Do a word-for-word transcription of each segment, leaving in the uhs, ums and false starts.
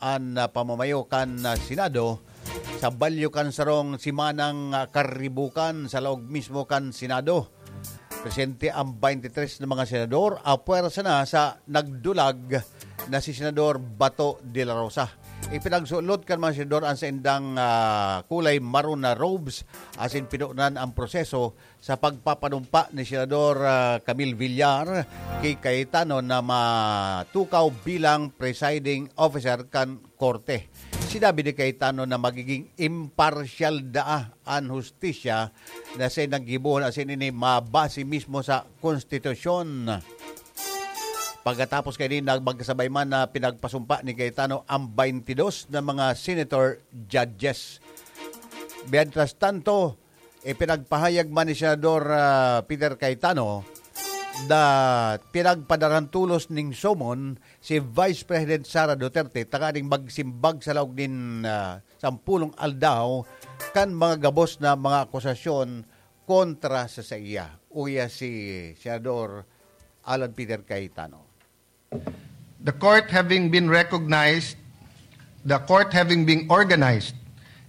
an, ah, pamamayo kan, ah, Senado sa balyo kan sarong simanang, ah, karibukan sa laog mismo kan Senado. Presente ang twenty-three na mga senador, apwersa na sa nagdulag na si Senador Bato de la Rosa. Ipinagsulot kan mga senador ang saindang, ah, kulay maroon na robes asin pinunan ang proseso sa pagpapanumpa ni Senador, ah, Camille Villar ki Cayetano na matukaw bilang presiding officer kan korte. Sinabi ni Cayetano na magiging imparsyal daa an hustisya na siya naggibohon asin ini mabase mismo sa konstitusyon. Pagkatapos kaini, nag-, magkasabay man na pinagpasumpa ni Cayetano ang twenty-two na mga senator judges. Mientras tanto, ipinagpahayag man ni Senador, ah, Peter Cayetano na pinagpadarang tolos ning summon si Vice President Sara Duterte tanganing magsimbag sa laog nin, ah, sampulong aldaw kan mga gabos na mga akusasyon kontra sa saiya. Uya si Senador Alan Peter Cayetano. The court having been recognized, the court having been organized,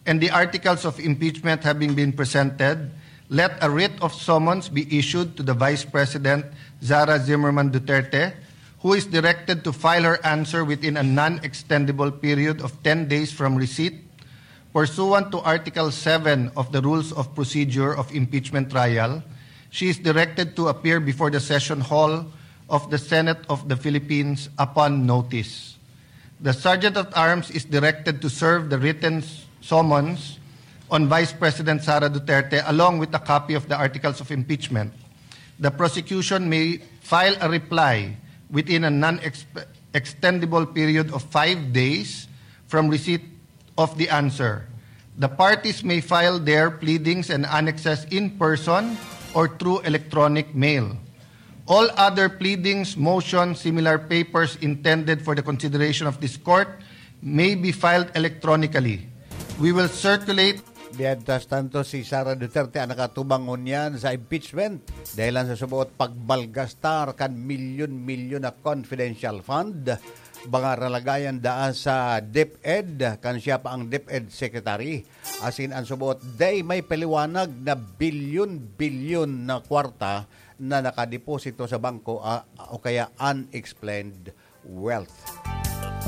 and the articles of impeachment having been presented, let a writ of summons be issued to the Vice President Sara Zimmerman Duterte, who is directed to file her answer within a non-extendable period of ten days from receipt. Pursuant to Article seven of the Rules of Procedure of Impeachment Trial, she is directed to appear before the session hall of the Senate of the Philippines upon notice. The Sergeant at Arms is directed to serve the written s-, summons on Vice President Sara Duterte along with a copy of the articles of impeachment. The prosecution may file a reply within a non-extendable period of five days from receipt of the answer. The parties may file their pleadings and annexes in person or through electronic mail. All other pleadings, motions, similar papers intended for the consideration of this court may be filed electronically. We will circulate. Mientras tanto, si Sara Duterte ang nakatubang ngunyan sa impeachment dahil lang sa suboot pagmalgastar kan milyon-milyon na confidential fund, mga ralagayan daan sa DepEd, kan siya pa ang DepEd Secretary. Asin ang suboot, day may paliwanag na bilyon-bilyon na kwarta na nakadeposito sa bangko, ah, o kaya unexplained wealth.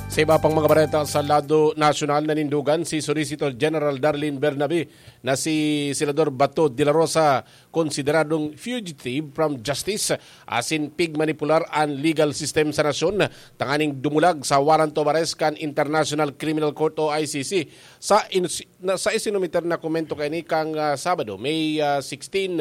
Sa iba pang mga bareta sa lado nasyonal, nanindugan si Solicitor General Darlene Bernabe na si Senador Bato de la Rosa konsideradong fugitive from justice asin pigmanipular an legal system sa nasyon tanganing dumulag sa warrant of arrest kan International Criminal Court o I C C. Sa ins-, na, sa isinumiter na komento kaini kang, ah, Sabado, May, ah, sixteen,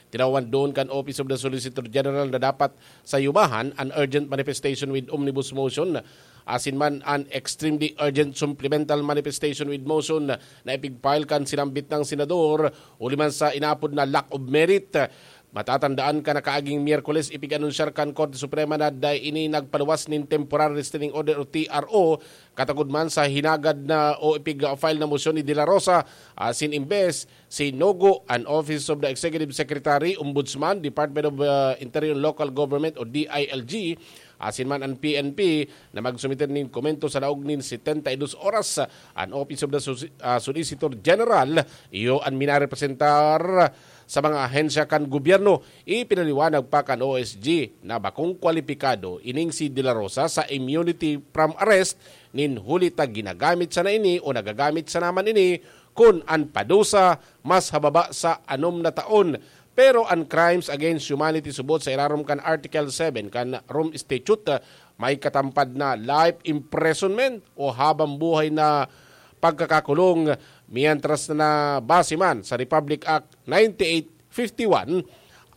tinawan doon kan Office of the Solicitor General na dapat sayubahan an urgent manifestation with omnibus motion, asin man an extremely urgent supplemental manifestation with motion na ipig-file kan sinambit nang senador, huli man sa inapod na lack of merit. Matatandaan kan nakaaging Miyerkules, ipig-anunsyar kan Korte Suprema na dai ini nagpaluwas nin Temporary Restraining Order o T R O, katagod man sa hinagad na o ipig-file na mosyon ni De La Rosa, asin imbes, sinugo an Office of the Executive Secretary, Ombudsman, Department of, uh, Interior and Local Government o D I L G, asin man an P N P na magsumiter nin komento sa laog nin setenta y dos oras. An Office of the Soci-, ah, Solicitor General, iyo an minarepresentar sa mga ahensya kan gobyerno. Ipinaliwanag pa kan O S G na bakong kwalipikado ining si De La Rosa sa immunity from arrest nin huli ta ginagamit sana ini o nagagamit sana man ini kun an padusa mas hababa sa anom na taon. Pero an crimes against humanity subot sa irarom kan Article seven kan Rome Statute, ah, may katampad na life imprisonment o habang buhay na pagkakakulong, mientras na base man sa Republic Act ninety-eight fifty-one,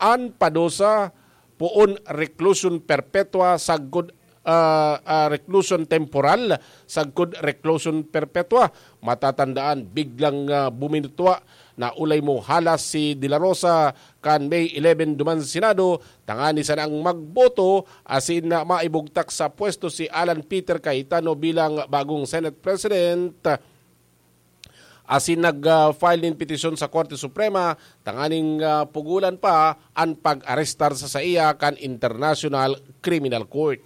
an padusa poon reclusion perpetua sagkod, ah, ah, reclusion temporal sagkod reclusion perpetua. Matatandaan, biglang, ah, buminutwa na ulay mo halas si De La Rosa kan May eleven duman sa Senado, tangani sanang magboto asin na maibugtak sa pwesto si Alan Peter Cayetano bilang bagong Senate President. Asin nag, ah, file nin petisyon sa Korte Suprema tanganing, ah, pugulan pa an pag-arestar sa saiya kan International Criminal Court.